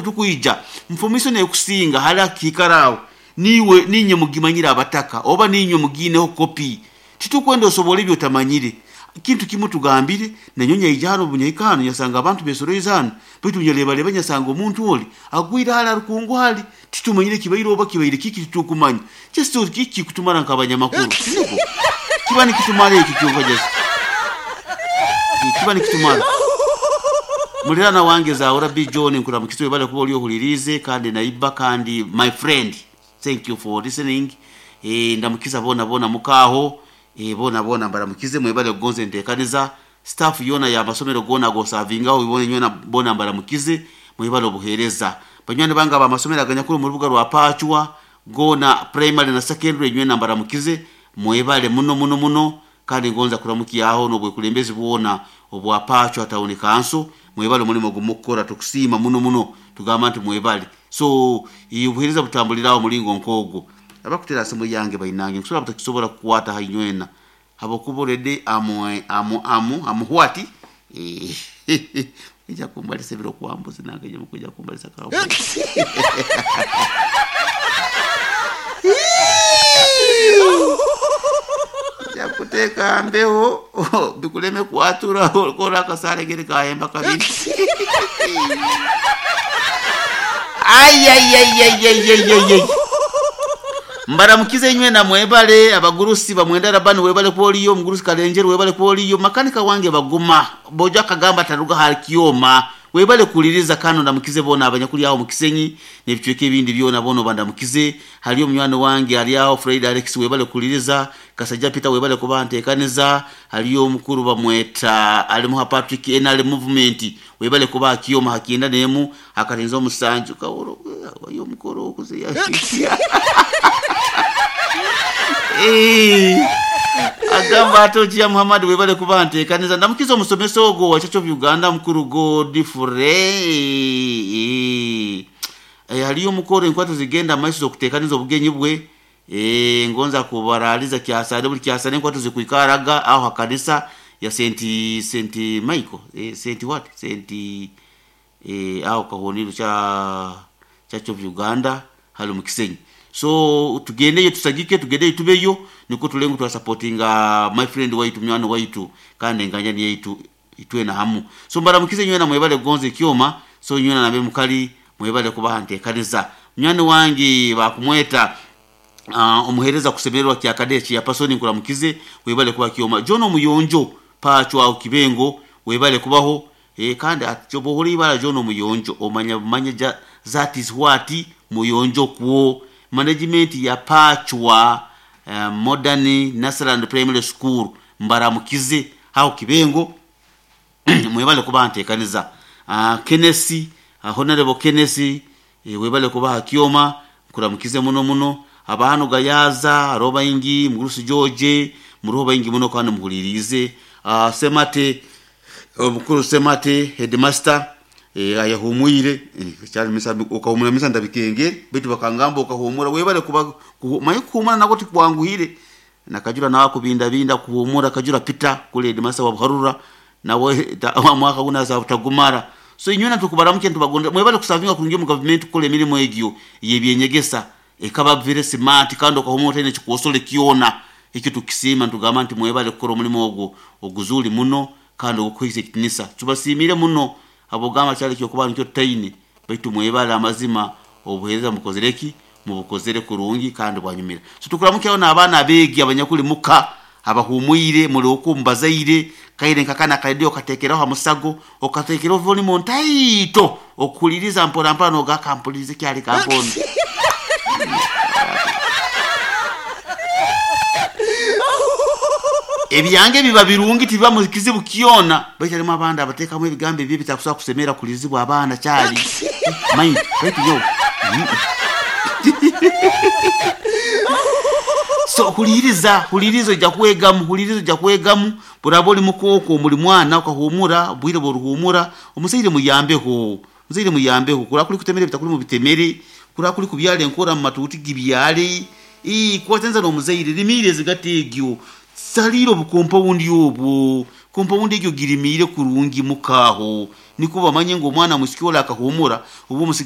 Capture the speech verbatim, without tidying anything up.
Tukwija nfumiso nekusinga hali akikaraawo niwe ninye mugimanyire abataka oba ninye mugineho kopi. Titukwenda osobora ebyo otamanyire. Kintu kimu tugambire nanyonya ija hano bunyaika hano nyasanga abantu besoroize hano, baitu nyalebaleba nyasanga omuntu oli agwire hali arukungu hali titumanyire kibaire oba kibaire kiki, titukumanya. Just kiki kutumara nk'abanyamakuru niko kiba nikitumara ekyo kyonka, just kiba nikitumara. Mulirana wange Zaura B John, nkuramukizwe, bale kuba oli ohulirize kandi naiba kandi my friend, thank you for listening. eh ndamukiza bona bona mukaho, eh bona bona mbaramukize, mwebale kugonze ntekaniza staff yona ya masomero gona gosavingaho ibone nyona bona mbaramukize, mwebale obuhereza. Banywani banga ba masomero aganyakuru mu rubuga rwa Pachwa gona primary na secondary, nywena mbaramukize, mwebale muno muno muno. Kandi ngonza kuramukiyaho n'obwekulembezi bwona obwa Pachwa Town Council, mwebale omulimo gumukukora, tukusiima muno muno, tugamba nti mwebale. So obuheereza butambuliraho mulingo nk'ogwo. Abakutera simu yange bainange nkusobola butakisobola kukwata hainywena habwokuba already amu amu amu amuhwati ija kumbalisa ebiro kwambuzi nange nje mukuja kumbalisa kawo jakuteeka mbeho bikuleme kwatura kora akasale gere kahemba kabiri. Ayayayayayayayay, mbaramukize inywe na mwebale. Abagurusi bamwenda Rabani, webale kwoliyo. Omugurusi Kalenjeru, webale kwoliyo. Makanika wange baguma bojo akagamba taruga hali kioma, webale kuliriza kano. Ndamukize bona abanyakuli aho mukisenyi n'ebicweka ebindi byona, bono bandamukize. Haliyo munywani wange ali aho Fred Alex, webale kuliriza. Kasajja Peter, webale kuba ntekaniza. Haliyo omukuru bamweta alimuha Patrick N R movement, webale kuba akioma hakienda nemu akarinza omusanju kaworo oyo omukuru okuziya. Eh, agamba atokia Muhammad, webale kuba ntekaniza. Ndamukiza omusomesa ogwo wa Church of Uganda, mukuru Godfrey. Eh, haliyo omukoro enkwato zigenda maiso z'okutekaniza obugenyi bwe. Eh, ngonza kubaraliza kyasale buli kyasale enkwato zikwikaraga aho hakanisa ya Saint Saint Michael, eh, Saint what Saint, eh, aho kahoniro cha Church of Uganda hali mu Kisenyi. So tugendeyo tusagike, tugendeyo tubeyo, niko tulengo twasupportinga my friend waitu, mwana waitu kandi enganya ni yaitu itwe na hamu. So mbaramukize nywena, mwebale gonze kyoma. So nywena nabe mukali mwebale kubaha ntekaniza. Mwana wange bakumweta uh, omuhereza kusemererwa kya kadechi ya pasoni, nkuramukize, webale kuba kyoma. John Omuyonjo Pachwa au Kibengo, webale kubaho. E, kandi atyobohora ibara John Omuyonjo omanya manya ja, that is what Muyonjo kuo management ya Pachwa uh, Modern Nasarand Primary School, mbaramukize hao Kibengo, mwebale kuba ntekaniza. uh, Kenesi, uh, Honorable Kenesi, e, webale kuba kioma, nkuramukize muno muno. Abahano Gayaza roba ingi mugurusi George muroba ingi muno kandi muhulirize. uh, Semate omukuru Semate headmaster, eh, ayahumwire, eh, cyari misa ukahumura misa ndabikenge bitu bakangamba ukahumura, webale kuba maye kuhumura nako tikwanguhire nakajura nawe kubinda binda kuhumura kajura pita kule headmaster wa Buharura nawe mwaka guna za utagumara. So inyuna tukubaramuke tubagonda, mwebale kusavinga kurungi mu government kule emirimu egyo yebyenyegesa ekaba very smart kandi okahumura tene kikuosole kiona ekyo tukisima ntugamba nti mwebale kukora omulimu ogwo oguzuli muno kandi ogukwisa ekitinisa. Tubasimire muno abogamba kyali kyokuba nikyo tutaine, baitu mwebale amazima obuhereza mukozereki mubukozere kurungi kandi bwanyumira. So tukuramukyaho n'abaana abeegi abanyakuli muka abahumwire muri okumbazaire kaire nkakana karedio okatekeraho hamusago okatekeraho volume ntaito okuliriza mpora mpora nogakampulirize kyali kampondo. Ebyange biba birungi tibiba mu kizibu kiona, baitu harimu abandi abateekamu ebigambo ebi bitakusobola kusemera kulizibwa abaana kyali mind baitu yo. So huliriza, huliriza ojja kwegamu, huliriza ojja kwegamu. Buraba oli mukooko muli mwana okahumura bwire bworuhumura omuzaire muyambeho, omuzaire muyambeho kura kuli kutemere bitakuli mu bitemere kura kuli kubyala enkora mu matuuti gibyale ii kwatenza n'omuzaire limire zigati egyo saliro obukompawundi obwo kompawundi egyo girimire kurungi mukaho niko bamanye ngo omwana musiki ola akahumura obwo omusigazi.